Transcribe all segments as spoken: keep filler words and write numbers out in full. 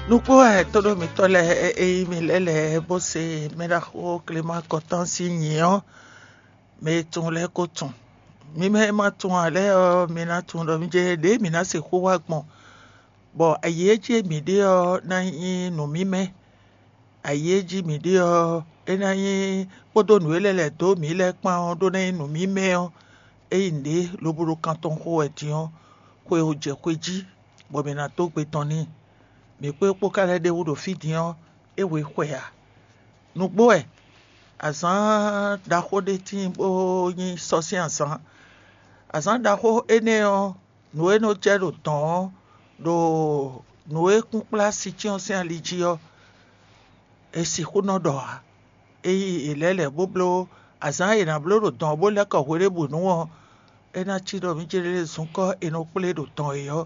Nukpó wɛ tóɖó mǐtɔn lɛ́ɛ e nyí mì lɛ́ lɛ́ɛ bó se mɛɖaxó Clément Kɔtán sín nyǐ ɔ́, mɛ e tunwun lɛ́ɛ ko tunwun. Mi mɛ e ma tunwun ǎ lɛ́ɛ ɔ́, mi ná tunwun ɖɔ mì jɛ ɖěe mǐ ná sixú wa gbɔn, bɔ ayǐ e jí mǐ ɖe ɔ́ ná nyí nǔmímɛ́. Ayǐ e jí mǐ ɖe ɔ́, é ná nyí kpódó nǔ e lɛ́ lɛ̌ dó mǐ lɛ́ɛ kpán ɔ́ ɖó ná nyí nǔmímɛ́ ɔ́, é nyí nǔɖé lobo ɖo kan tɔn xo wɛ din ɔ́, xwe ò jɛ xwe jí, bɔ mǐ ná dó gbe tɔn n'i. Mǐ kpó é kpó ka lɛ́ ɖ'é wú ɖo fí din ɔ́, é hwe xwe ǎ. Nǔgbó wɛ, azǎn ɖaxó ɖé tíin bó nyí sɔ́ sín azǎn. Azǎn ɖaxó énɛ́ ɔ́, nǔ e nɔ jɛ ɖo dɔ̌n ɔ́, ɖo nǔ e kún kplá sincyɔ́n sín ali jí ɔ́, è sixú nɔ ɖɔ ǎ. Ényí è lɛ̌ lɛ̌ bó bló azǎn e è nǎ bló ɖo dɔ̌n ɔ́ bó lɛ́ kɔ hweɖěbǔnu ɔ́, é ná cí ɖɔ mǐ céɖéɖé zunkɔ́ è nɔ kplé ɖo dɔ̌n é ɔ́,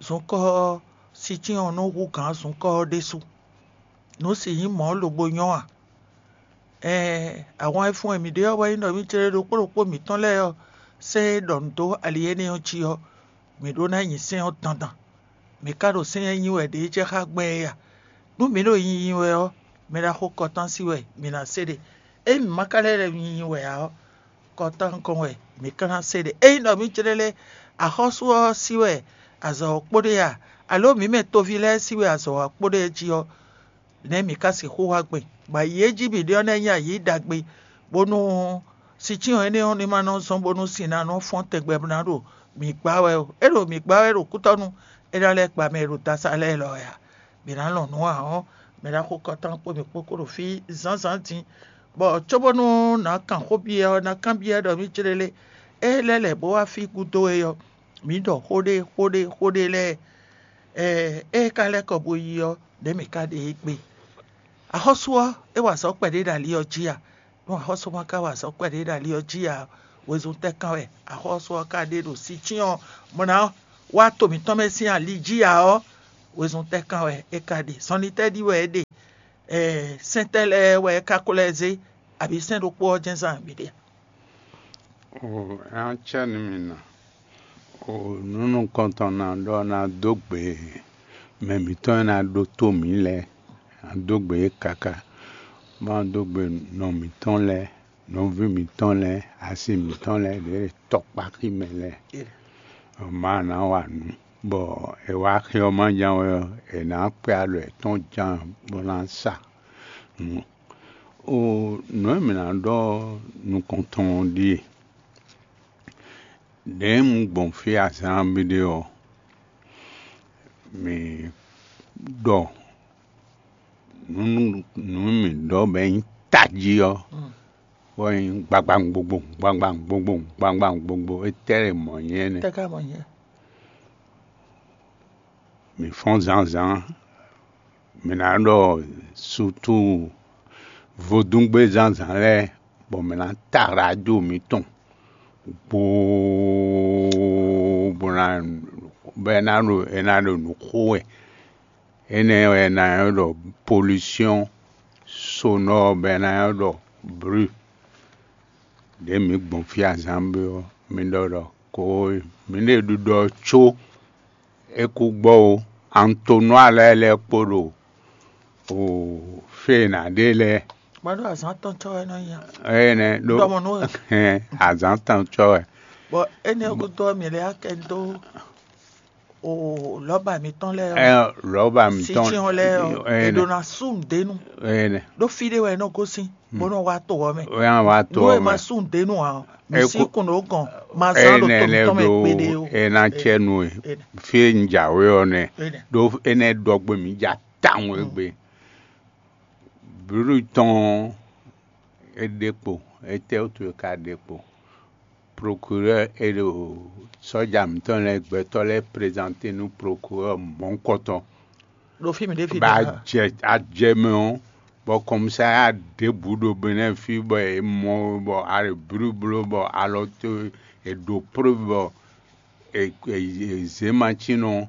zunkɔ́ ɔ́, sincyɔ́n ɔ́ nɔ hú gǎn zunkɔ́ ɔ́ ɖésú. Nǔ sixú nyí mɔ̌ lobo nyɔ́ a? Ɛɛn, ahwan e fun e mǐ ɖe ɔ́ wɛ nyí ɖɔ mǐ céɖéɖé ɖokpó ɖokpó mǐtɔn lɛ́ɛ ɔ́, sɛ́n e ɖɔ nǔ dó ali énɛ́ ɔ́ jí ɔ́, mǐ ɖó ná nyi sɛ́n ɔ́ dandan. Mǐ ka ɖo sɛ́n e nyi wɛ ɖě jɛ xá gbɛn é a? Nú mǐ ɖo nyinyi wɛ ɔ́, mɛɖaxó Kɔtán sí wɛ mǐ ná se ɖe. Ényí mǐ ma ka lɛ́ nyinyi wɛ ǎ ɔ́, Kɔtán gɔ́n wɛ mǐ ka ná se ɖe. Ényí ɖɔ mǐ jlɛ́ lɛ́ axɔ́sú ɔ́ sí wɛ azɔ̌ ɔ́ kpo ɖe a, alǒ mǐ mɛ toví lɛ́ɛ sí wɛ azɔ̌ ɔ́ kpo ɖe jí ɔ́, nɛ̌ mǐ ka sixú wa gbɛn, bɔ ayǐ e jí mǐ ɖe ɔ́ ná nyí ayǐ ɖagbe, bónú sincyɔ́n énɛ́ ɔ́ ní ma nɔ zɔ́n bónú sin ná nɔ fɔ́n tɛgbɛ bó ná ɖo mǐ gbá wɛ ó. É ɖo mǐ gbá wɛ ɖo kútɔ́nú, é ná lɛ́ gba mɛ e ɖo dasa lɛ́ɛ lɔ wɛ a? Mǐ ná lɔn nǔ ǎ ɔ́, mɛ ɖaxó Kɔtán kpó mǐ kpó kó ɖo fí zǎnzǎn din, bɔ cóbónú nǎ kan xó byɔ́ ɔ́, ná kanbyɔ́ ɖɔ mǐ jlélé. É lɛ́ lɛ̌ bó wá fí gúdo é ɔ́, mǐ ɖɔ xó ɖé xó ɖé xó ɖé lɛ́ɛ, ée é ka lɛ́ kɔ bó yi ɔ́, nɛ̌ mǐ ka ɖe é gbe? Axɔ́sú ɔ́, é wa azɔ̌ kpɛɖé ɖo ali ɔ́ jí a? Nú axɔ́sú ma ka wa azɔ̌ kpɛɖé ɖo ali ɔ́ jí ǎ, wezun tɛ́ kán wɛ axɔ́sú ɔ́ ka ɖe ɖo sincyɔ́n mɔ ná wá to mǐtɔn mɛ sín ali jí ǎ ɔ́, wezun tɛ́ kán wɛ é ka ɖe? Zɔnlin tɛ́ ɖi wɛ é ɖe? Sɛ́n tɛ́ lɛ́ɛ wɛ é ka ko lɛ́ zé, abǐ sɛ́n ɖokpó ɔ́ jɛ́n zán mǐ ɖe a? O, é ná cɛ nú mi nɔ. O, nǔ nukɔntɔn ná ɖɔ ná dó gbe mɛ mǐtɔn e ná ɖótó mǐ lɛ́ɛ, ná dó gbe yě káká, bó ná dó gbe nɔ mǐtɔn lɛ́ɛ, nɔví mǐtɔn lɛ́ɛ, asi mǐtɔn lɛ́ɛ, ɖě tɔkpáxi mɛ lɛ́ɛ. Ɔ, má ná wa nǔ, bɔ è wá xi ɔ́ má ján wɛ ɔ́, è nǎ kpɛ alɔ yětɔn ján bó ná sa nǔ. O, nǔ e mǐ ná ɖɔ nukɔntɔn ɔ́ ɖíe: ɖěe un gbɔn fí azǎn ɔ́ bǐ ɖe ɔ́, mǐ ɖɔ nǔ nǔ mǐ ɖɔ bɔ é nyí tají ɔ́, bɔ é nyí gbagbangbogbo gbagbangbogbo gbagbangbogbo, étɛ́ lɛ́ mɔ̌ nyí énɛ́? Tɛ́ ka mɔ nyɛ? Mǐ fɔ́n zǎnzǎn, mǐ ná ɖɔ sutu vodúngbe zǎnzǎn lɛ́ɛ, bɔ mǐ ná ta radio mǐtɔn gboo, bɔ ná bɔ é ná ɖo é ná ɖo nǔ xo wɛ. Énɛ́ wɛ è nǎ nywɛ́ ɖɔ pollution sonore, bɔ è nǎ nywɛ́ ɖɔ bruit. Ɖě mǐ gbɔn fí azǎn ɔ́, mi ɖɔ ɖɔ ko mǐ ɖe ɖiɖɔ có é kú gbɔ ó. Antonua lɛ́ɛ lɛ́ɛ kpo ɖo o fě e è nǎ ɖe lɛ́ɛ. Má ɖo azǎn tɔn cɔ́ wɛ nɔ nya. Énɛ́ ɖó Ɖɔmɔ nú wɛ. Hɛn, azǎn tɔn cɔ́ wɛ. Bɔ énɛ́ gúdo ɔ́, mǐ lɛ́ akɛ dó o lɔ̌ba mǐtɔn lɛ́ɛ ɔ́, Ɛ, lɔ̌ba mǐtɔn. Sincyɔn lɛ́ɛ ɔ́, Ɛnɛ. È ɖo ná sú nǔɖé nu. Ɛnɛ. Ɖó fí ɖé wɛ é nɔ gosín, bó nɔ wá to ɔ́ mɛ. Wɛ á wá to Nú ɔ́ è ma mɛ. Sú nǔɖé nu ǎ ɔ́, mǐ Ɛ sí kú- kun ɖó gɔn, ma zán ɖo Ɛnɛ to lɛ mǐtɔn mɛ ɖo kpeɖé o. Ɛ ná cɛ nu e. Ɛnɛ. Fí e un jǎwe ɔ́ nɛ. Ɛnɛ. Ɖó énɛ́ ɖɔ gbé mǐ ja tawun e gbe. Brúɖu tɔn ɔ́, é ɖe kpo, étɛ́ wútu é ka ɖe kpo? Procureur e ɖo sɔ́ja mǐtɔn lɛ́ɛ gbɛtɔ́ lɛ́ɛ présenter nú procureur mɔ̌hunkɔtɔn. Ɖo fí mǐ ɖe fí ba ɖe. Jɛ ajɛ mɛ ɔ́, bɔ kɔmisa ya ɖěbǔ ɖo Benɛ́ɛ fí bɔ è mɔ bɔ a ɖo blúblú bɔ alɔ towe è ɖǒ preuve bɔ è è è zě macinɔ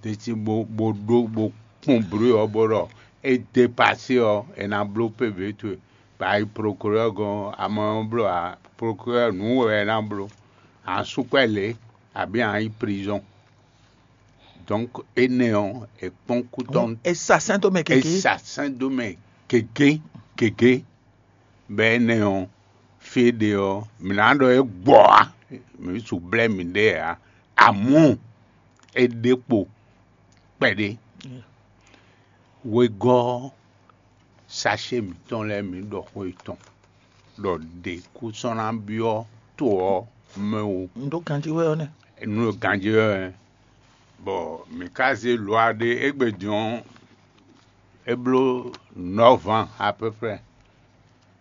ɖe cí bó bó ɖó bó kpɔ́n blú ɔ́ bó ɖɔ é dépasé ɔ́, è nǎ bló pébé towe. Ba yi procureur gɔ́n, amɔ ɔ́ bló ǎ, procureur nǔ wɛ è nǎ bló. A nǎ sú kwɛ́ lě, abǐ a nǎ yi prison. Donc énɛ́ ɔ́, è kpɔ́n kú tɔn, è sa sɛ́n dó mɛ gěgé. È sa sɛ́n dó mɛ gěgé gěgé. Bɔ énɛ́ ɔ́, fí e ɖe ɔ́, mǐ ná ɖɔ é gbɔ ǎ, mǐ su blɛ́ mǐɖée ǎ. Amɔ̌, é ɖe kpo kpɛɖé. Wegɔ́ ɔ́, sacé mǐtɔn lɛ́ɛ mǐ ɖɔ xó yětɔn ɖɔ ɖě kú sɔ́ ná byɔ́ to ɔ́ mɛ ó. Un ɖó ganjí wɛ ɔ́ nɛ́. Un ɖó ganjí wɛ ɔ́, bɔ mǐ ka zé lɔ̌ ɖé égbé din ɔ́, é bló nɔ̌ van à peu près,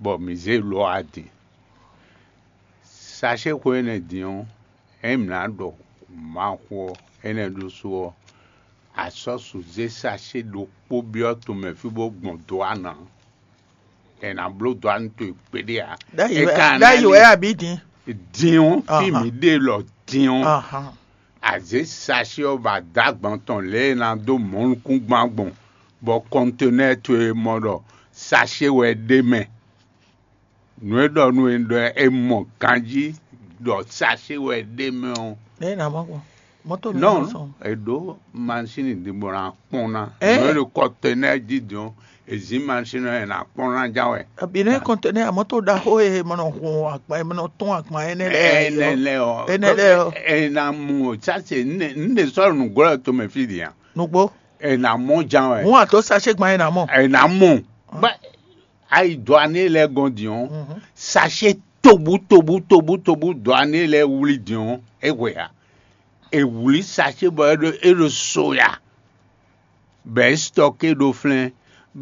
bɔ mǐ zé lɔ̌ din. Sacé xó énɛ́ din ɔ́, ényí mǐ ná ɖɔ Mawu xó ɔ́, énɛ́ ɖésú ɔ́, a sɔ́ su zé sacé ɖokpó byɔ́ tomɛ fí bó gbɔn dó ana. È nǎ bló dó anu towe kpéɖé ǎ. Ɖ'ayǐ wɛ abǐ din? Din ɔ́, fí mǐ ɖe lɔ din ɔ́, a zě sacé ɔ́ ba dó agban tɔn lě e è nǎ dó mɔ̌ nukúngban gbɔn, bɔ kɔntenɛ́ɛ towe mɔ ɖɔ sacé wɛ ɖ'é mɛ. Nǔ e ɖɔ nú we ɖɔ é mɔ ganjí ɖɔ sacé wɛ ɖ'é mɛ ɔ́. Nɛ̌ è nǎ mɔ gbɔn? Mɔ̌to nɔ nɔ sɔn. È ɖǒ masín ɖě bɔ ná kpɔ́n ná. Nǔ e ɖo kɔtɛnɛ́ jí din ɔ́, è zǐn masín ɔ́ è nǎ kpɔ́n ná ján wɛ. Bǐ nɛ́ kɔntɛnɛ́ a mɔ̌to ɖaxó e mɔ nɔ hun agban e mɔ nɔ tɔ́n agban énɛ́ lɛ́ɛ. Énɛ́ lɛ́ɛ ɔ́, énɛ́ lɛ́ɛ ɔ́, è nǎ mú o sase nú ɖě sɔ́ nǔglɔ́ tomɛ fí din a? Nǔgbó. È nǎ mɔ ján wɛ. Hǔn a dǒ sacé gban è nǎ mɔ. È nǎ mɔ. Bɔ a yi dɔ̌ aní lɛ́ɛ gɔ́n din ɔ́, sacé tobú tobú tobú tobú dɔ̌ aní lɛ́ɛ wlí din ɔ́, é hwe ǎ. È wlǐ sacé bɔ é ɖo é ɖo so ya, bɔ é stɔké ɖó flɛ́n,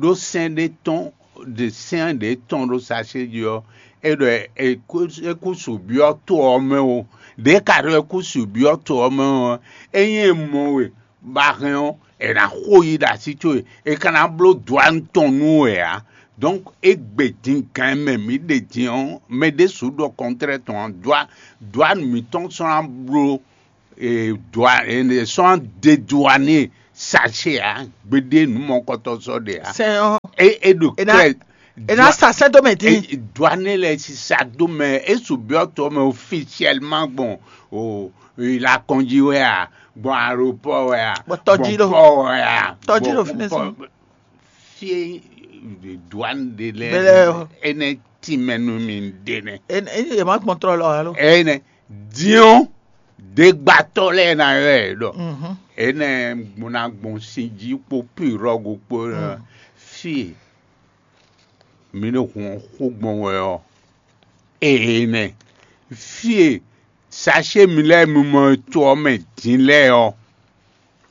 ɖó sɛ́n ɖé tɔn ɖe sɛ́n ɖě tɔn ɖó sacé jí ɔ́, é ɖɔ é kú é kú su byɔ́ to ɔ́ mɛ ó. Ɖě ka ɖɔ é kú su byɔ́ to ɔ́ mɛ ɔ́, ényí è mɔ we bɔ a hɛn ɔ́, è nǎ xo yi ɖo así towe, è ka ná bló dɔ̌ tɔn nú we ǎ. Donc égbé din gan e mɛ mǐ ɖe din ɔ́, mɛ ɖésú ɖɔ kɔntrɛ́ tɔn ǎ. Dɔ̌ mǐtɔn sɔ́ ná bló dɔ̌ è sɔ́ ná ɖe dɔ̌ n'i sacé ǎ, gbeɖé nǔ mɔkɔtɔn sɔ́ ɖe ǎ. Sɛn ɔ́, É é ɖo è ná klɛ́ è ná sa sɛ́ dó mɛ dín. Dɔ̌ n'i lɛ́ɛ sisa dó mɛ, é su byɔ́ tɔ mɛ officiellement gbɔn o il a kɔnjí wɛ a, gbɔn aéroport wɛ a, Gbɔn tɔjí gbɔn lɔ. Port wɛ a, Tɔjí gbɔn lɔ fínɛ́ port- sɔn. Fie douane ɖe lɛ Bɛlɛ o. Ene tìmɛ nú mi ɖe nɛ. Ene ene yɛ ma gbɔn trɔ lɔ alo. Ene diɔn degbatɔ lɛ na yɔ ɛ ɖɔ. Mhm. Ene gbɔna gbɔn sin jí kpo pirɔgu kpo Mm. Fie mi ɖo hɔn xó gbɔn wɛ ɔ. Ene fie sachet mi lɛ mi mɔ to ɔ mɛ din lɛ ɔ.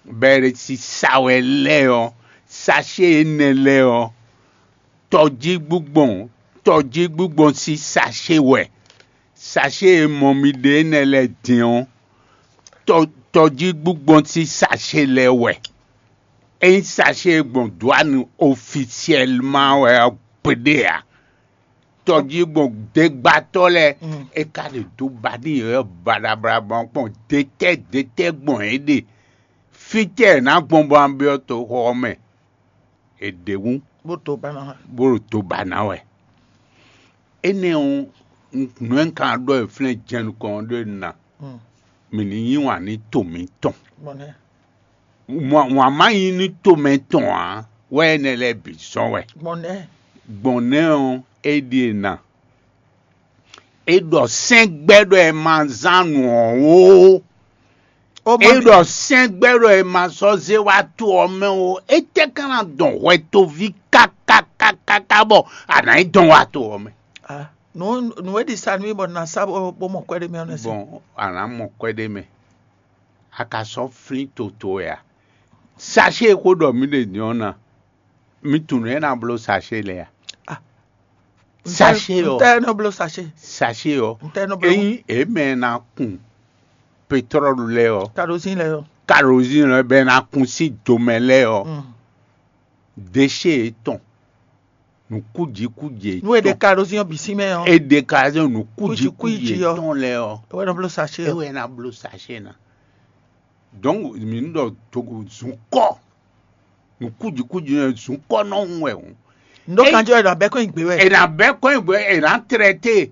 Bɛ́ ɖé sísá wɛ lɛ́ɛ ɔ́, sachet énɛ́ lɛ́ɛ ɔ́, tɔjígbígbɔn tɔjígbígbɔn sín sachet wɛ. Sachet e mɔ mi ɖe énɛ́ lɛ́ɛ din ɔ́, tɔ tɔjígbígbɔn sín sachet lɛ́ɛ wɛ. Ényí sachet e gbɔn dwǎnu ofisiɛlman wɛ ɔ́ gbeɖé ǎ. Tɔjígbɔn degbatɔ́ lɛ́ɛ, é ka ɖe do ba n'i yɔ̌yɔ́ baɖabaɖa gbɔn kpɔ́n detɛ́ detɛ́ gbɔn yě ɖe. Fítɛ́ è nǎ gbɔn bɔ a byɔ́ toxo ɔ́ mɛ? È ɖe wú, bó to ba ná wɛ. Bó ɖo do ba ná wɛ. Énɛ́ ɔ́, nǔ e un ka ɖɔ e flɛ́n jɛnukɔn ɔ́ ɖó e na, mǐ ní yí wǎn nú to mǐtɔn. Gbɔn nɛ́. Wǎn má nyí nú to mɛ tɔn ǎ, wɛ énɛ́ lɛ́ɛ bǐ zɔ́n wɛ. Gbɔn nɛ́. Gbɔn nɛ́ ɔ́, é ɖíe na. É ɖɔ sɛ́ngbɛ́ ɖɔ è ma zán nǔ ɔ́ ó. É ɖɔ sɛ́ngbɛ́ ɖɔ è ma sɔ́ zé wá to ɔ́ mɛ ó. Étɛ́ ka ná dɔn hwɛtoví kákákákáká bɔ a nǎ yi dɔn wá to ɔ́ mɛ? Ah, nǔ nǔ e ɖi sa nú mì bɔ na sa bó bó mɔ kwɛ́ ɖé mɛ ɔ́ nɛ́ se. Bɔn a nǎ mɔ kwɛ́ ɖé mɛ. A ka sɔ́ flín toto wɛ a? Sachet e xó ɖɔ mǐ ɖe din ɔ́ ná, mi tunwun nǔ e ná bló sachet lɛ́ɛ a? Ah, Sachet ɔ́. Ntɛ nɔ bló sachet. Sachet ɔ́. Ntɛ nɔ bló. Ényí è mɛ ná kun pétrɔ́lu lɛ́ɛ ɔ́, Karozín lɛ yɔ. Karozín lɛ́ɛ bɛ ná kun sín domɛ lɛ́ɛ ɔ́, Mm. Déchets yětɔn, nǔkújikúji Nú è ɖe yětɔn, karozín ɔ́ bǐ sín mɛ ɔ́. È ɖe karozín nǔkújikúji Kújikúji ɔ́. Yětɔn lɛ́ɛ ɔ́, É wɛ nɔ bló sachet é ɔ́. Wɛ ná bló sachet ná. Donc mǐ nɔ ɖɔ togo zun kɔ, nǔkújikúji nɔ zun kɔ nɔ hun wɛ hǔn. Ndo É- kanjɔ ɛ ɖo abɛ kɔn nyi gbé wɛ. È nǎ bɛ́ kɔn nyi gbé, è nǎ traité,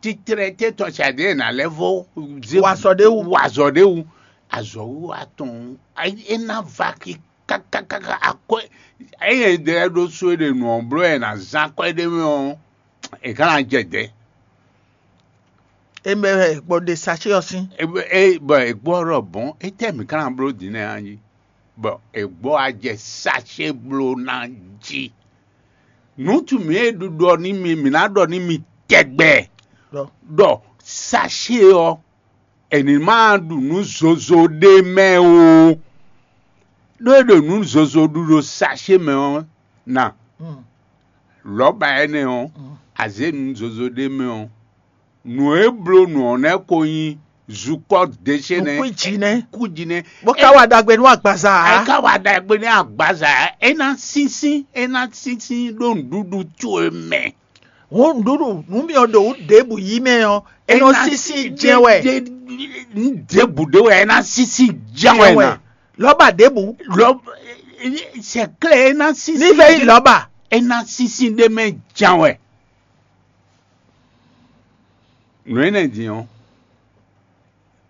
ti traité tɔn sadi è nǎ lɛ́ vó zé Wa azɔ ɖé wú. Wa azɔ ɖé wú. azɔ̌wiwa tɔn é ná va kí kákákáká akwɛ́ ényí è ɖe lɛ́ɛ ɖó sú é ɖe nǔ ɔ́ bló wɛ è nǎ zán akwɛ́ ɖé mɛ ɔ́, è ká ná jɛ dɛ̌. É mɛ wɛ bɔ ɖe sachet ɔ́ sín. É bɔ è gbɔ ɖɔ bɔn étɛ́ mǐ ká ná bló din nɛ́ ɔ́ jí? Bɔ è gbɔ wá jɛ sachet bló ná jí. Nǔ tún mǐ e ɖuɖu ɔ́ ní mi mǐ ná ɖɔ ní mi tɛgbɛ ɖɔ sachet ɔ́ è ní ma ɖu nǔ zozo ɖé mɛ ó. Ɖó é ɖo nǔ zozo ɖu ɖo sachet mɛ ɔ́ ná. Lɔ̌ba énɛ́ ɔ́, a zě nǔ zozo ɖé mɛ ɔ́, nǔ e bló nǔ ɔ́ nɛ́ ko nyí zukɔ́ ɖěṣe nɛ́. Nǔkúnjí nɛ́. Kúnjí nɛ́. Bó ka wa ɖagbe nú agbaza ǎ. É ka wa ɖagbe nɛ́ agbaza ǎ. É ná sínsín, é ná sínsín ɖó nǔɖuɖu towe mɛ. Hǔn nǔɖuɖu nǔ mì ɔ́ ɖo wǔ ɖěbǔ yí mɛ ɔ́, é nɔ sínsín jɛ́n wɛ. Nǔ ɖěbǔ ɖé wɛ é ná sínsín jɛ́n wɛ ná. Lɔ́ba ɖěbǔ. Lɔ sɛklɛ é ná sínsín. Ní vɛ yí lɔ́ba. É ná sínsín ɖé mɛ jɛ́n wɛ. Nǔ énɛ́ din ɔ́,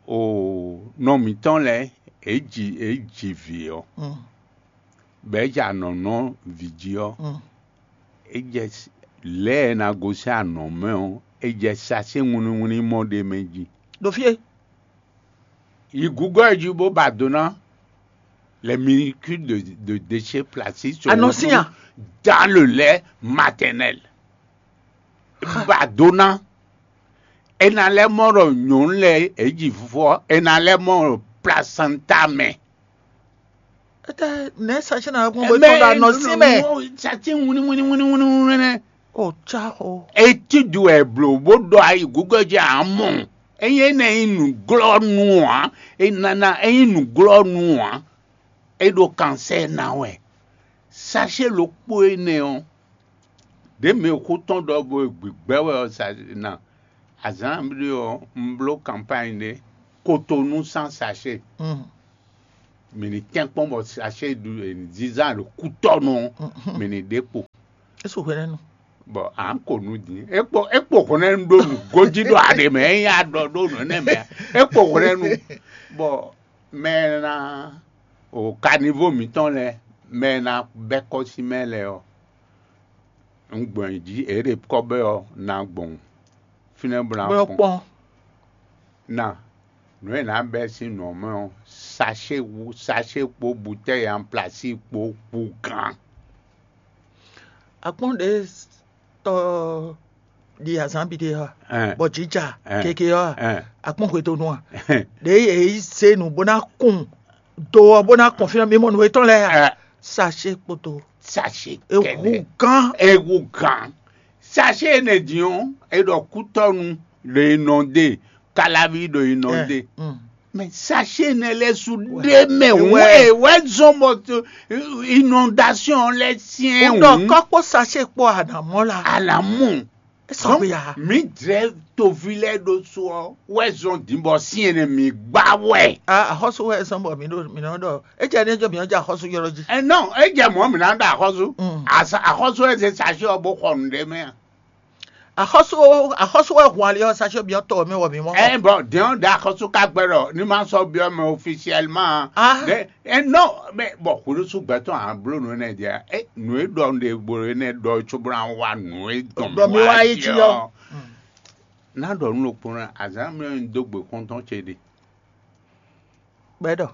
o nɔ mǐtɔn lɛ́ɛ é ji é ji vǐ ɔ́, bɔ é jɛ anɔ̌ nɔ vǐ jí ɔ́, é jɛ lɛ̌ e è nǎ gosín anɔ̌ mɛ ɔ́, é jɛ sasé wínníwínní mɔ ɖé mɛ jí. Ɖo fí e. Yi Google jí bó ba do ná les minuscules de, de déchets plastiques sur Anɔ̌ sín a? Dans le lait maternel. Ba do ná. É ná lɛ́ mɔ ɖɔ nyɔ̌nu lɛ́ɛ é ji fufɔ, é ná lɛ́ mɔ ɖɔ placenta mɛ. Étɛ́ nɛ̌ sachet ná gbɔn bó tɔn ɖo anɔ̌ sín mɛ. Sati wínní wínní wínní wínní wínní nɛ. O cá xo. Étude wɛ blo bó ɖɔ ayi Google jí amɔ. Ényí é ná nyí nǔglɔ́nú ǎ, é nana é nyí nǔglɔ́nú ǎ, é ɖo kansɛ́ ná wɛ. Sachet ɖokpó énɛ́ ɔ́, ɖě mɛ e xó tɔn ɖɔ bó gbigbɛ́ wɛ ɔ́ sa ná. Azǎn ɖé ɔ́, un bló kanpány ɖé, Kotonu sín sachet. Mǐ ní tɛ́nkpɔ́n bɔ sachet ɖu zizan ɖo kútɔ́nu ɔ́, mǐ ní ɖe kpo. É su hwɛɖɛnu. Bɔ à ń kò nu din. É kpo é kpo hwlɛ́nu ɖó nǔ gójí ɖo aɖe mɛ, é nyí aɖɔ ɖó nǔ énɛ́ mɛ. É kpo hwlɛ́nu. Bɔ mɛ e ná o kanivo mǐtɔn lɛ́ɛ, mɛ e ná bɛ́ kɔ́ sín mɛ lɛ́ɛ ɔ́, un gbɔn yě jí, è ɖe kɔ́ bɛ́ ɔ́, ná gbɔn fínɛ́ bó ná Bó kpɔn. kpɔn. Na nǔ e nǎ bɛ́ sín nǔ ɔ́ mɛ ɔ́, sachet wú sachet kpó butɛ́yi anplasí kpó kpú gán. Akpɔ́n ɖě tɔ ɖi azǎn bǐ ɖe ɔ́, Ɛn. Bɔ jǐja Ɛn. Keke ɔ́, Ɛn. Akpɔ́n hwetonu a? Ɖě yě yi zé nǔ bó ná kun do ɔ́ bó ná kɔn fínɛ́ mimɔ nǔ etɔn lɛ́ɛ a? Ɛn. Sachet kpoto. Sachet Ehu kɛnɛ. Gán. Ehu gán. Sachet énɛ́ din ɔ́, é ɖɔ kútɔ́nu ɖo inɔndé, Kalaví ɖo inɔndé. Mm. Mais sachet énɛ́ lɛ́ɛ su ɖé mɛ Ouais. wɛ wɛ zɔn bɔ inondation lɛ́ syɛn Wodɔ kɔkpɔ sachet kpɔ anamɔ la. Alamu. Esɔgbe ya. Mi dzɛ tovi lɛ ɖo so ɔ wɛ zɔn din bɔ syɛn ne mi gba wɛ. Ah, axɔsu wɛ sɔn bɔ mi ɖo mi nɔ ɖɔ. Edze ne jɔ mi ɔdze axɔsu yɔrɔ dzi. Ɛ nɔ edze mɔ mi na ɖo axɔsu. Mm. Asa axɔsu ɛ se sachet ɔ bo xɔ nu ɖe mɛ. Axɔsu axɔsu wɛ hun ali ɔ sachet bi ɔtɔ mi wɔ mi mɔ. Ɛ bɔn diɔn da axɔsu ka gbɛ ɖɔ ni ma sɔ biɔ mɛ officiellement. Ah. Ɖe ɛ nɔ mɛ bɔn xulusu gbɛtɔ a blo nu ne dia ɛ nu e ɖɔ nu ɖe bolo ne ɖɔ tso bla wa nu e dɔn Ɖɔ mi wa yi dzi ɔ. Na ɖɔ nu ɖokpó na azan mi do gbe kɔntɔn ce ɖe. Gbɛdɔ.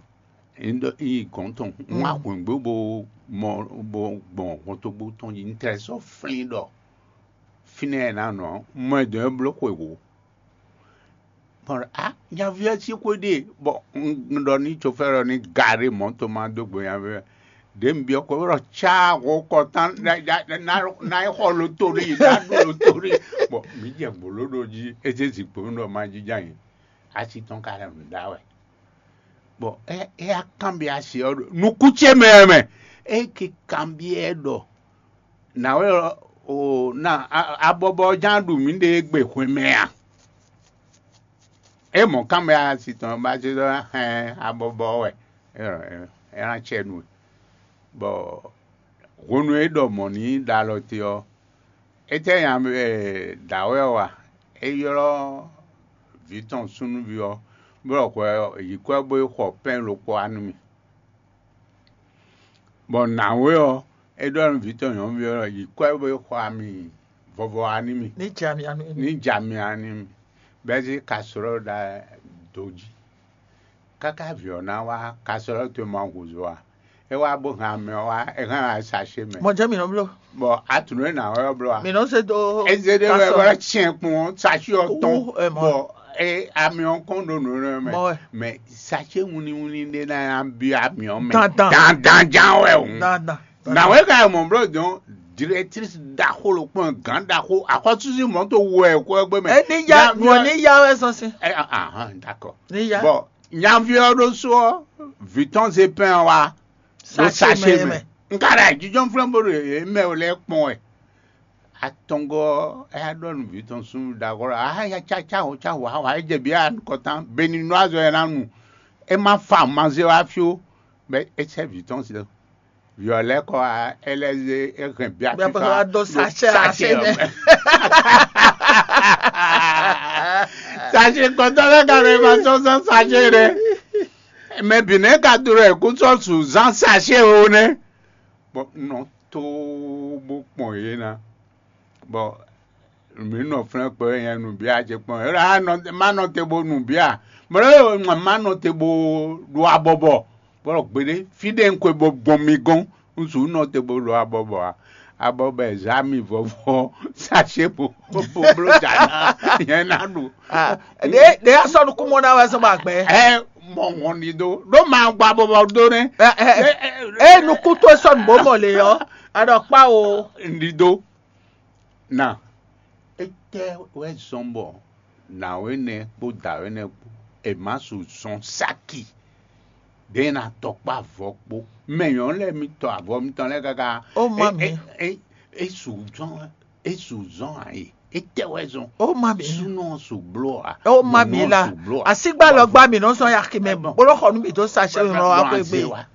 Ŋdɔ yi gɔn tɔn ŋwa hwɛngbó bo mɔ bo gbɔn hɔntogbo tɔn yi ŋtɛ sɔ flin ɖɔ fínɛ ɛ na nɔ mɔ ɛ dɔn ɛ bló xwe wò. Bɔn a nyaví ɛ sí xwé ɖe bɔ un ɖɔ ní chauffeur ɔ ní garé mɔto ma dó gbe nyaví ɛ ɖe un biɔ kɔ ɖɔ tsa xɔ kɔtán na yi xɔ lotori na ɖo lotori. Bɔn mi jɛ gbolo ɖo jí eze zikpo mi ɖɔ ma jija yi asi tɔn ka lɛ nǔ ɖa wɛ. Bɔn é é akanbyɔ́ asi ɔ́ ɖo nukún ce mɛ mɛ é ke kanbyɔ́ ɖɔ nǎwe ɔ́ o na abɔbɔ ɔ́ ján ɖu mǐɖée gbe hwemɛ a? É mɔ kanbyɔ́ asi tɔn ba zé ɖɔ hɛn abɔbɔ ɔ́ wɛ é ná cɛ nu. Bɔ hwenu e é ɖɔ mɔ̌ n'i ɖo alɔ te ɔ́, étɛ́ nya dǎwe ɔ́ wa? É ylɔ́ vǐ tɔn súnnuví ɔ́, Bɔ hwɛ ɔ́, yi kwɛ́ bó yi xɔ pɛ́n ɖokpó wá nú mì. Bɔ nǎwe ɔ́, é ɖɔ nú vǐ tɔn nyɔ̌nuví ɔ́ ɖɔ: "Yi kwɛ́ bó yi xɔ ami vɔvɔ wá nú mì, Ní jɛ ami anu ní ja mi wá nú mì." Bɛ́ zé kaslɔ́ ɖa dǒ jí. Káká vǐ ɔ́ ná wá, kaslɔ́ towe ma húzú ǎ. É wá bó hɛn amɛ ɔ́ wá, é hɛn wá sachet mɛ. Mɔ jɛ́n mǐ nɔ bló. Bɔ atǔnú e nǎwe ɔ́ bló ǎ. Mǐ nɔ zé dó. Eze ɖé wɛ kasɔ wɛ tiɛn kpɔn sachet ɔ́ tɔn. Wú, ɛ, mɔ. Bɔ e ami ɔ́ kɔn ɖo nǔ nɛ mɛ. Mɔ wɛ. Mɛ sachet wunniwunni ɖé ná nya byɔ́ ami ɔ́ mɛ. Dandan. Dandan ján wɛ hǔn. Dandan. Nǎwe ka yi mɔ bló dɔn directrice ɖaxó ɖokpɔn, gǎn ɖaxó, axɔ́súzí mɔ̌ to wɛ kó ɛgbé mɛ. Ɛ ní ya, Nya nɔ byɔ́ ní ya wɛ zɔn sín. Ɛ, ah, ah, ah, d'accord. Ní ya. Bɔ nyaví ɔ́ ɖó sú ɔ́, vǐ tɔn zé pɛn ɔ́ wá ɖó sachet mɛ. Mɛ. Un ka ɖo ayǐjínjɔ́n flɛ́n bó ɖo yě mɛ lɛ́ɛ kpɔn wɛ. Atɔngɔ́ ɔ́, é wá ɖɔ nú vǐ tɔn súnnu ɖaxó ɔ́: "Á ya cá cá hɔn cá hwa hwa é jɛ bǐ anukɔtán, beni nú azɔ̌ e ná nu. É má fa mazé wá fí ó." Bɔ é sɛ́ vǐ tɔn se. Vǐ ɔ́ lɛ́ kɔ wá, é lɛ́ zé é hɛn bia Bia fífá pɔsɔ wá dó ɖo sachet sachet ɔ́ mɛ. Sachet kɔtɔ́ lɛ́ɛ ka ɖo ma sɔ́ zán sachet ɖé. Mɛ bǐ nɛ́ ka dó ɖɔ è kú sɔ́ su zán sachet ó nɛ́. Bɔ un nɔ tóó bó kpɔn yě ná. Bɔ mǐ nɔ flɛ́n kpɛ wɛ nyɛ nǔbíá ce kpɔn. É ɖɔ: "Á nɔ, má nɔ te bo nǔbíá." Mɔ ɖɔ má nɔ te bo ɖo abɔbɔ. Bɔ gbeɖé, fí ɖé un xwe bo gbɔn mi gɔ́n, un sixú nɔ te bo ɖo abɔbɔ ǎ. Abɔbɔ e zǎ mi vɔvɔ sachet bo bo bló jǎ ná, nyɛ ná ɖu. Ah, ɖe ɖe asɔ nukúnmɔ ná wɛ zɔn ba gbɛ. Ɛ mɔ wɔn ɖi dó ɖó ma gba bɔbɔ dó nɛ. Ɛ, ɛ, Ɛ, ɛ, ɛ nukún tó sɔnù bó mɔ lě ɔ́, aɖɔ kpá o. Ɖi dó. Na, étɛ́ wɛ zɔn bɔ nǎwe nɛ́ kpó dǎwe nɛ́ kpó è má su zɔn saki ɖě ná tɔkpá avɔ kpó? Mɛ nyɔ̌nu lɛ́ɛ mi tɔ avɔ mitɔn lɛ́ɛ káká. Ó má mi. É su zɔn é su zɔn ǎ é. Étɛ́ wɛ zɔn? Ó má mi. Súnɔ su bló ǎ. Ó má mi la. Asígbálɔgbá mi nɔ sɔn ya kí mɛ bolo xɔ nú mi dó sachet mi nɔ wá xwé gbé.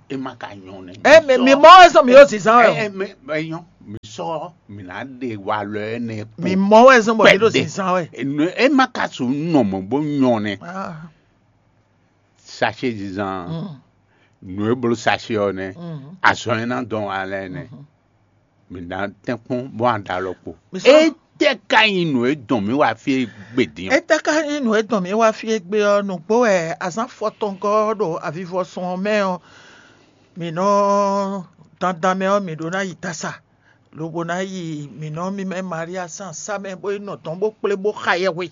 É má ka nyɔ́ nɛ. Ɛ mɛ mi mɔ wɛ sɔn mi yóò zizan wɛ. Ɛ mɛ ɛ nyɔ́ mi sɔ mi ná ɖe walɔ ɛ nɛ kpo. Mi mɔ wɛ sɔn bɔ mi ɖo zizan wɛ. É má ka su nɔ mɔ bó nyɔ́ nɛ. Ah. Sachet zizan. Nǔ e bló sachet ɔ́ nɛ́. Azɔn e ná dɔn wá lɛ́ɛ nɛ́. Mǐ ná tɛ́nkpɔ́n bó wá ɖo alɔ kpo. Étɛ́ ka nyí nǔ e dɔn mǐ wá fí é gbe din ɔ́? Étɛ́ ka nyí nǔ e dɔn mǐ wá fí é gbe ɔ́? Nǔgbó wɛ azǎn fɔtɔngɔ́ ɔ́ ɖo avivɔsun ɔ́ mɛ ɔ́, mǐ nɔ dandan mɛ ɔ́, mǐ ɖó ná yi dasa, lobo ná yi mǐ nɔ mímɛ́ Malia sín asá mɛ bó yi nɔ dɔn bó kplé bó xa yɛhwe.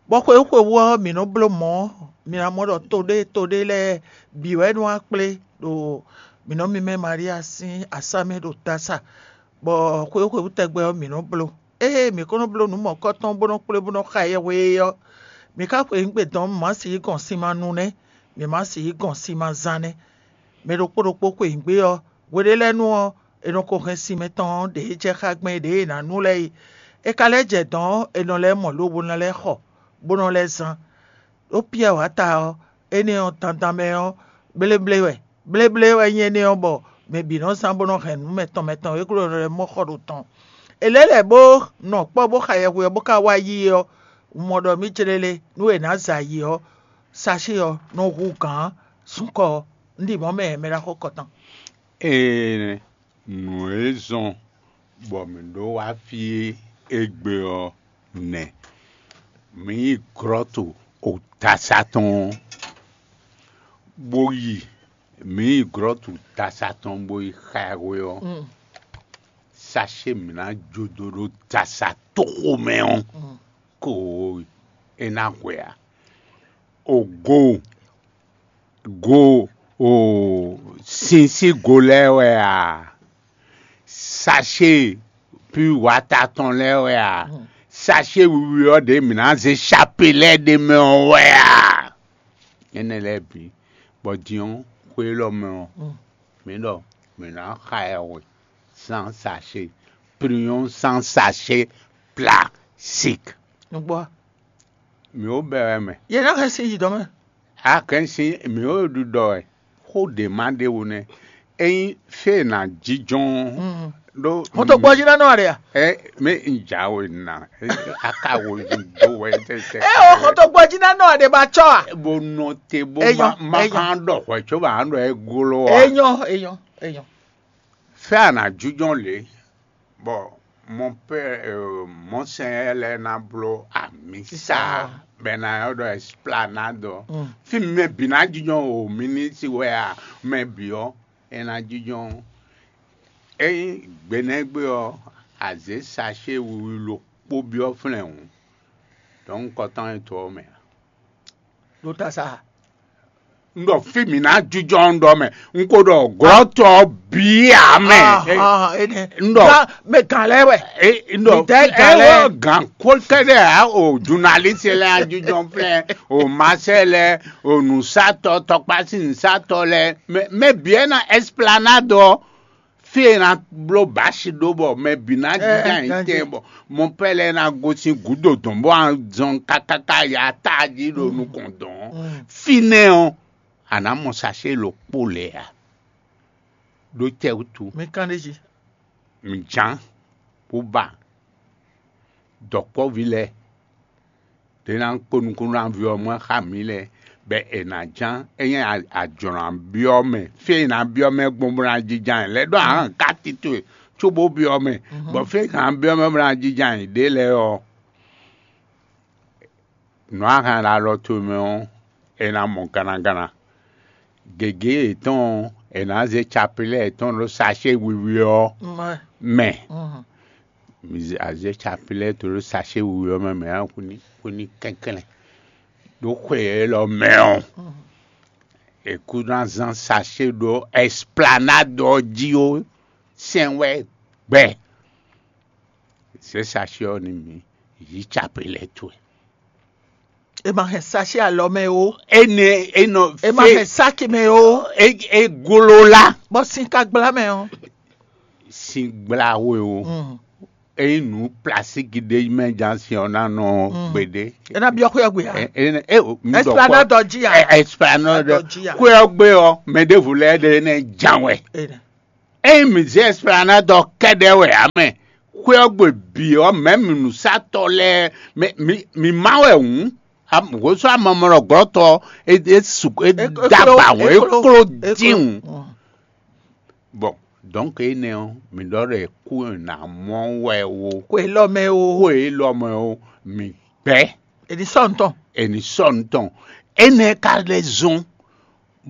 Bɔ xwewú xwewú ɔ́, mǐ nɔ bló mɔ̌, mǐ ná mɔ ɖɔ to ɖé to ɖé lɛ́ɛ bǐ wɛ nɔ wá kplé ɖo mǐ nɔ mímɛ́ Malia sín asá mɛ ɖo dasa, bɔ xwewú xwewú tɛgbɛ ɔ́, mǐ nɔ bló. Ée mǐ ko nɔ bló nǔ mɔ̌kɔ́tɔn bó nɔ kplé bó nɔ xa yɛhwe é ɔ́, mǐ ka xweyǐgbe dɔn má sixú gɔn sin ma nu nɛ́, mǐ má sixú gɔn sin ma zán nɛ́. Mɛ ɖokpó ɖokpó xweyǐgbe ɔ́, hwe ɖé lɛ́ɛ nu ɔ́, è nɔ ko hɛn sin mɛtɔn ɔ́ ɖě jɛ xá gbɛn ɖě è nǎ nu lɛ́ɛ é. É ka lɛ́ jɛ dɔ̌n ɔ́, è nɔ lɛ́ mɔ lobo nɔ lɛ́ xɔ, bó nɔ lɛ́ zán. Ɖó Piyɛ́ɛ wǎ ta ɔ́, énɛ́ ɔ́, dandan mɛ ɔ́, bléblé wɛ. Bléblé wɛ nyí énɛ́ ɔ́, bɔ mɛ bǐ nɔ zán bó nɔ hɛn nǔ mɛtɔn mɛtɔn e glɔ́ nɔ lɛ́ mɔ xɔ ɖo tɔn. È lɛ̌ lɛ̌ bó nɔ kpɔ́ bó xa yɛhwe ɔ́, bó ka wá yí ɔ́, un mɔ ɖɔ mǐ céɖélé nú è nǎ za yi ɔ́, sachet ɔ́ nɔ hu gǎn súnkɔ ɔ́. Un ɖi mɔ̌ mɛ mɛ ɖaxó kɔtɔn. Ee, nǔ e zɔn bɔ mǐ ɖó wá fí égbé ɔ́ nɛ́: mǐ yi glɔ́tu dasa tɔn ɔ́, bó yi mǐ yi glɔ́tu dasa tɔn bó yi xá ɛ hwe ɔ́, sachet mǐ ná jó dó ɖó dasa tóxo mɛ ɔ́, ko é ná hwe ǎ. Ogo go o sin sín go lɛ́ɛ wɛ a? Sachet pui wata tɔn lɛ́ɛ wɛ a? Sachet wiwi ɔ́ ɖě mǐ ná zé chapelet ɖ'é mɛ ɔ́ wɛ a? Énɛ́ lɛ́ɛ bǐ, bɔ din ɔ́, xwé élɔ́ mɛ ɔ́, mǐ ɖɔ mǐ ná xa ɛ hwe zán sachet, priyɔ́n zán sachet plastique. Nǔgbó a? Mǐ ó bɛ wɛ mɛ. Yě ná hɛn sin yi dɔ̌n mɛ. A kɛn sin mǐ ó ɖiɖɔ wɛ. Xó ɖě ma ɖe wú nɛ́. Ényí fí e è nǎ jínjɔ́n ɔ́, Ɖó hɔntogbɔjínánɔ aɖe a? Ɛ, mɛ n ja we na. Ɛ, aka wo do wɛ tɛtɛ. Ɛ o, hɔntogbɔjínánɔ aɖe ba tsɔ a? Bo nɔ te bó Eyɔn, ma ma eyɔn. Kan ɖɔ hwɛ tso ba an ɖɔ e glo a? Eyɔn, eyɔn, eyɔn. Fɛ a na jujɔn le, bɔ mɔ pɛ mɔsɛn lɛ na bló amisa bɛ na yɔ ɖɔ esplanade. Mm. Fi mi mɛ bi na jujɔn o, mi ni si wɛ a, mɛ bi ɔ e na jínjɔ́n. Ényí gbe nɛ́ gbe ɔ́, a zě sacée wiwi ɖokpó byɔ́ flɛ́n hǔn, dɔ̌nkɔtɔn e to ɔ́ mɛ ǎ. Ɖo ta sa. Un ɖɔ fí mǐ ná jínjɔ́n un ɖɔ mɛ, un ko ɖɔ glɔ́tɔ́ ɔ́ bǐ ǎ mɛ. Ah, ah, énɛ́. Un ɖɔ Gán, mɛ gǎn lɛ́ɛ wɛ. É, un ɖɔ Mǐdɛɛ é gǎn lɛ́ɛ. Wɔ gǎn kó kɛ́ɖɛ́ ǎ o, journaliste lɛ́ɛ á jínjɔ́n flɛ́n o, masɛ lɛ́ɛ o, nǔsatɔ́, tɔkpásin nǔsatɔ́ lɛ́ɛ, mɛ mɛ bǐ ɛ ná esplanade ɔ́, fí e è nǎ bló bǎsi ɖó bɔ mɛ bǐ ná Ɛ, jínjɔ́n ɛ, ayǐ tɛn bɔ mɔpɛ́ lɛ́ɛ ná gosín gǔdo dɔ̌n bó ná zɔn káká ya tájí ɖo nukɔn dɔ̌n ɔ́, fínɛ́ ɔ́, a nǎ mɔ sacé ɖokpó lɛ́ɛ ǎ. Ɖó tɛ́ wútu? Mi kán ɖ'é jí. Mǐ ján bó ba dɔ̌kpɔ́ví lɛ́ɛ ɖě ná kpó nukúnnú ná vyɔ́ mɔ xá mǐ lɛ́ɛ, bɔ è nǎ ján. Ényí a- a jlɔ̌ ná byɔ́ mɛ, fí e è nǎ byɔ́ mɛ gbɔn bó ná jínjɔ́n ayǐ lɛ́ɛ ɖó a hɛn káti towe cóbó byɔ́ mɛ, bɔ fí e è nǎ byɔ́ mɛ bó ná jínjɔ́n ayǐ ɖé lɛ́ɛ ɔ́, nǔ a hɛn ɖo alɔ towe mɛ ɔ́, è nǎ mɔ gannaganna. Gěgé yětɔn ɔ́, è nǎ zé capilɛ́ yětɔn ɖó sacé wiwi ɔ́ mɛ. Mi zé- a zé capilɛ́ to ɖó sacé wiwi ɔ́ mɛ, mɛ ɔ́ kú ní kú ní kɛnklɛ́n. Ɖó xwe élɔ́ mɛ ɔ́, è kú ná zán sacé ɖó esplanade ɔ́ jí ó, sɛn wɛ gbɛ. Zě sacé ɔ́ nú mǐ, yǐ capilɛ́ towe. È ma hɛn sacé alɔ mɛ ó. Énɛ́ é nɔ È ma fé- hɛn sáki mɛ ó. É é gló lá Bɔ sin ka gbla mɛ ó. Sin gbla we o. Mm. Ényí nǔ plasíki ɖé mɛ ján sin ɔ́ ná nɔ Mm. Gbeɖé. É ná byɔ́ xwé ɔ́ gbe ǎ. Ɛ- ɛ- ɛ- o- mi ɖɔ Esplanade kpɔ- ɔ́ jí ǎ. Ɛ- Esplanade Dɔ jí ǎ. Xwé ɔ́ gbé ɔ́, mɛ ɖěvo lɛ́ɛ ɖe nɛ́ ján wɛ. Énɛ́. Ényí mǐ zé Esplanade ɔ́ kɛ́ɖɛ́ wɛ ǎ mɛ, xwé ɔ́ gbe bǐ ɔ́, mɛ̌ mi nǔsatɔ́ lɛ́ɛ, mɛ mi mi má wɛ hǔn, hwesú amamɔnɔglɔ́tɔ́ é é su é É- é dó agba kló- hǔn, é é kló- kló é dín kló. Hǔn. Mm. Bɔn dɔ̌nk énɛ́ ɔ́, mǐ ɖɔ ɖɔ è kú è nǎ mɔ wɛ ó. Xwe élɔ́ mɛ ó. Xwe élɔ́ mɛ ó, mǐ gbɛ́. È ní sɔ́ nǔ tɔn. È ní sɔ́ nǔ tɔn. Énɛ́ ka lɛ́ zɔ́n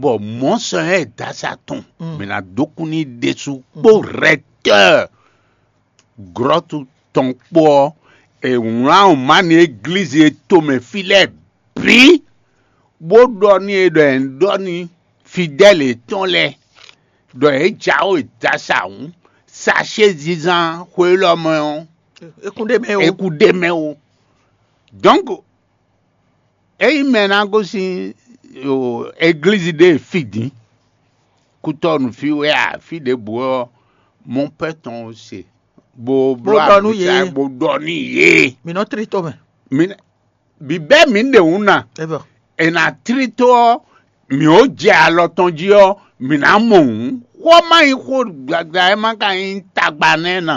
bɔ mɔ̌sɔn e dasa tɔn Mm. mǐ ná dó kú n'i ɖésú kpó rɛtɛ́ɛ glɔ́tu tɔn kpó ɔ́, è wlán wǔma nú eglízi e tomɛ fí lɛ́ɛ bǐ, bó ɖɔ n'i e ɖɔ è nǐ ɖɔ n'i fidɛ́li yětɔn lɛ́ɛ ɖɔ yě jǎwe dasa hǔn, sacé zizan xwe élɔ́ mɛ ɔ́, É kún ɖ'é mɛ ó. É kú ɖ'é mɛ ó. Dɔ̌nk, ényí mɛ ná gosín eglízi ɖé fí din, kútɔ́nu fí wɛ a, fí ɖěbǔ ɔ́, mɔ̌ pɛ́ tɔn se, bó Bó bló ɖɔ nú abǐ yě. Bó ɖɔ nú yě. Mǐ nɔ tlí to mɛ. Mi bǐbɛ́ mǐ ɖe wǔ ná. É bɔ. È nǎ tlí tó ɔ́, mǐ ó jɛ alɔ tɔn jí ɔ́, mǐ ná mɔ hǔn. Xó ɔ́ má nyí xó gbagba, é má ka nyí tagba nɛ́ ná.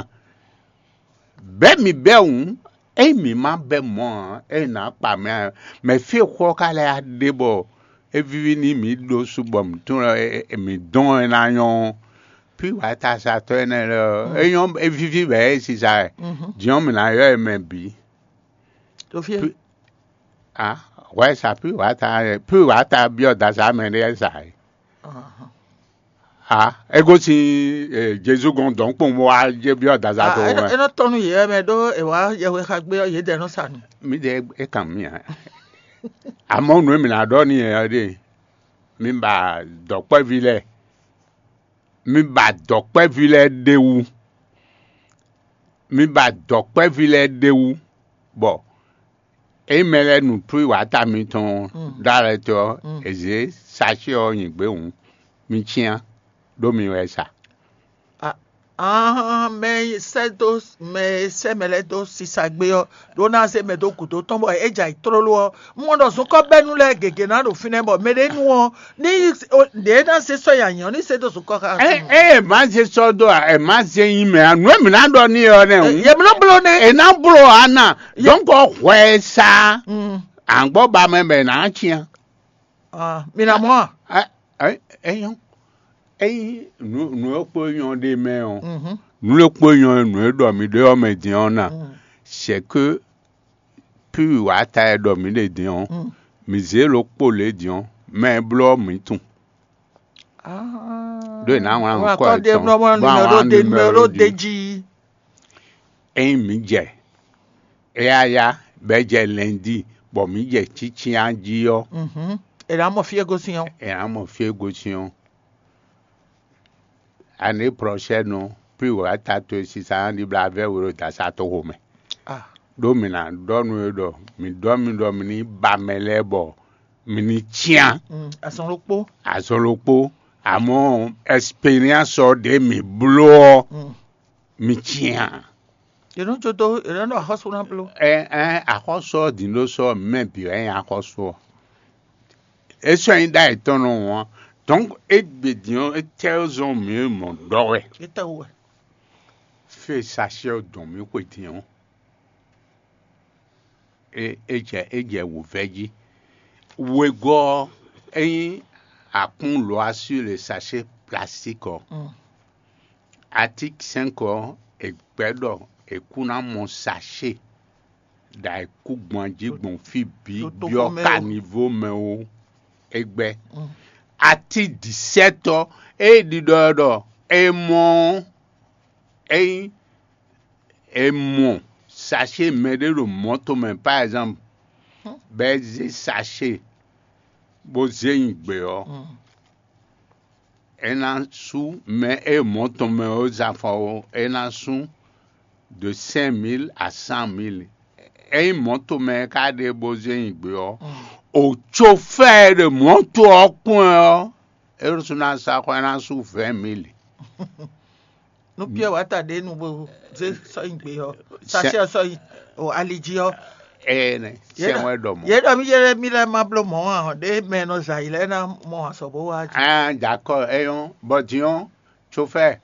Bɛ̌ mǐ bɛ́ hǔn, ényí mǐ má bɛ́ mɔ̌ ǎ, é nǎ kpa mɛ ǎ. Mɛ fí e xó ɔ́ ka lɛ́ ɖe bɔ é víví n'i mǐ ɖó su bɔ mǐ tunwun ɛ- ɛ- mǐ dɔn ɛ ná nyɔ́ ɔ́, pí wǎtasatɔ́ énɛ́ lɛ́ɛ ɔ́, é nyɔ́ é víví bɔ é sisa ɛ. Din ɔ́, mǐ ná ylɔ́ ɛ mɛ bǐ. Ɖo fí e. Pi- a hwɛ sa pí wǎta pí wǎta byɔ́ dasa mɛ ɖé sa ɛ. Ahàn. A é gosín Jezu gɔn dɔ̌nkpɔn bó wá jɛ byɔ́ dasa Ah, tó é nɔ- wɛ. É nɔ tɔ́n nú yě mɛ ɖó è wá yɛhwe xa gbé ɔ́, yědɛɛ nɔ sa nǔ. Mi ɖe é kan mi ǎ. Amɔ̌ nǔ e mǐ ná ɖɔ n'i ɛ ɔ́ ɖe, mi ba dɔ̌kpɛ́ví lɛ́ɛ, mi ba dɔ̌kpɛ́ví lɛ́ɛ ɖ'é wú, mi ba dɔ̌kpɛ́ví lɛ́ɛ ɖ'é wú, bɔ ényí mɛ lɛ́ɛ nu plú yi wǎta mitɔn Mm. ɖó alɛ tɔn ɔ́, Mm. è zě sacé ɔ́ nyi gběhǔn, mi cyán ɖó mi wɛ sa. Ah, Ahán, mɛ e sɛ́ dó mɛ e sɛ́ mɛ lɛ́ɛ dó sisa gbé ɔ́ ɖó ná zé mɛ dó gǔdo tɔn bɔ é jɛ ayǐ tlóló ɔ́, un mɔ ɖɔ zunkɔ́bɛ́nu lɛ́ɛ gěgé ná ɖo fínɛ́ bɔ mɛ ɖé nu ɔ́ ní ɖě ná zé sɔ́ nyi anyǐ ɔ́ ní zé dó zunkɔ́ xá. Ɛ ɛ má zé sɔ́ dó ɛ má zé nyi mɛ ǎ. Nǔ e mǐ ná ɖɔ n'i ɔ́ nɛ́ hǔn. Yě mló bló nɛ́. È ná bló ǎ nà. Dɔ̌nkɔ hwɛ e sa àgbɔ́ ba mɛ bɔ è nǎ cyán. Mi ná mɔ a? Ɛ ɛ é nyɔ́. Ényí nǔ nǔ e kpo nyɔ́ ɖ'é mɛ ɔ́, nǔ e kpo nyɔ́ nǔ e ɖɔ mi ɖe ɔ́ mɛ din ɔ́ na, c'est que píwi wǎ ta e ɖɔ mǐ ɖe din ɔ́, mǐ zě ɖokpó lě din ɔ́, mɛ e bló ɔ́ mǐ tunwun. Ɖó è nǎ wlán nǔkɔ yětɔn bó wá wlán numéro jí. Ényí mǐ jɛ éyáyá bɔ é jɛ lɛndíi, bɔ mǐ jɛ cícyán jí ɔ́, è nǎ mɔ fí e gosín ɔ́. È nǎ mɔ fí e gosín ɔ́. Aní prɔshɛ́nu pí wǎ ta towe sisa ná ɖibla vɛ́ we ɖo dasa toxo mɛ. Ɖó mǐ ná ɖɔ nú we ɖɔ mǐ ɖɔ mì ɖɔ mǐ ní ba mɛ lɛ́ɛ bɔ mǐ ní cyán. Azɔn ɖokpó. Azɔn ɖokpó. Amɔ̌ ɛsperiánsɔ ɖě mǐ bló ɔ́, mǐ cyán. È nɔ jó dó è nɔ ɖo axɔ́sú ná bló. Ɛ ɛ axɔ́sú ɔ́ din ɖó sɔ́ mɛ bǐ wɛ nyí axɔ́sú ɔ́. É sɔ́ nyí ɖ'ayǐ tɔn nɔ wɔn. Donc égbe din ɔ́, étɛ́ zɔn mǐ mɔ ɖɔ wɛ? Étɛ́ wú wɛ? Fí e sachet ɔ́ dɔn mǐ xwe din ɔ́, é é jɛ é jɛ wǔvɛ́ jí. Wegɔ́ ɔ́, é nyí akún lɔ̌ asú le sachet plastique ɔ́. Atík sɛ́nkɔ ɔ́, è gbɛ̌ ɖɔ è kú ná mɔ sachet ɖo ayǐkúngban jí gbɔn fí bǐ byɔ́ kanivo mɛ ó. É gbɛ́. Atí dǐsɛ́tɔ́ e ɖiɖɔ ɖɔ è mɔ ɔ́, ényí è mɔ sachet mɛɖé ɖo mɔ̌to mɛ par exemple, bɔ é zé sachet bó zé nyi gbě ɔ́, é ná sú mɛ e mɔ̌ tɔn mɛ ɔ́ zán fɔ ɔ́, é ná sú de cinq mille à cent mille. Ényí mɔ̌to mɛ e ka ɖe bó zé nyi gbě ɔ́, o cofɛ́ɛ ɖe mɔ̌to ɔ́ kpɔ́n ɛ ɔ́, é ɖo sú ná sa xɔ é ná sú vingt mille. Nú Piɛ wǎ ta ɖě nu bó zé sɔ́ nyi gbě ɔ́, sachet ɔ́ sɔ́ nyi o ali jí ɔ́. Ee nɛ, sɛn wɛ ɖɔ mɔ̌. Yě ɖɔ mí yé mí lɛ́ɛ má bló mɔ̌ ǎ, ɖé mɛ e nɔ zɛ ayǐ lɛ́ɛ ná mɔ azɔ̌ bó wá jí. Ah, d'accord, é nyɔ́. Bɔ din ɔ́, chauffeur,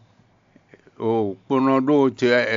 o kponɔ ɖó te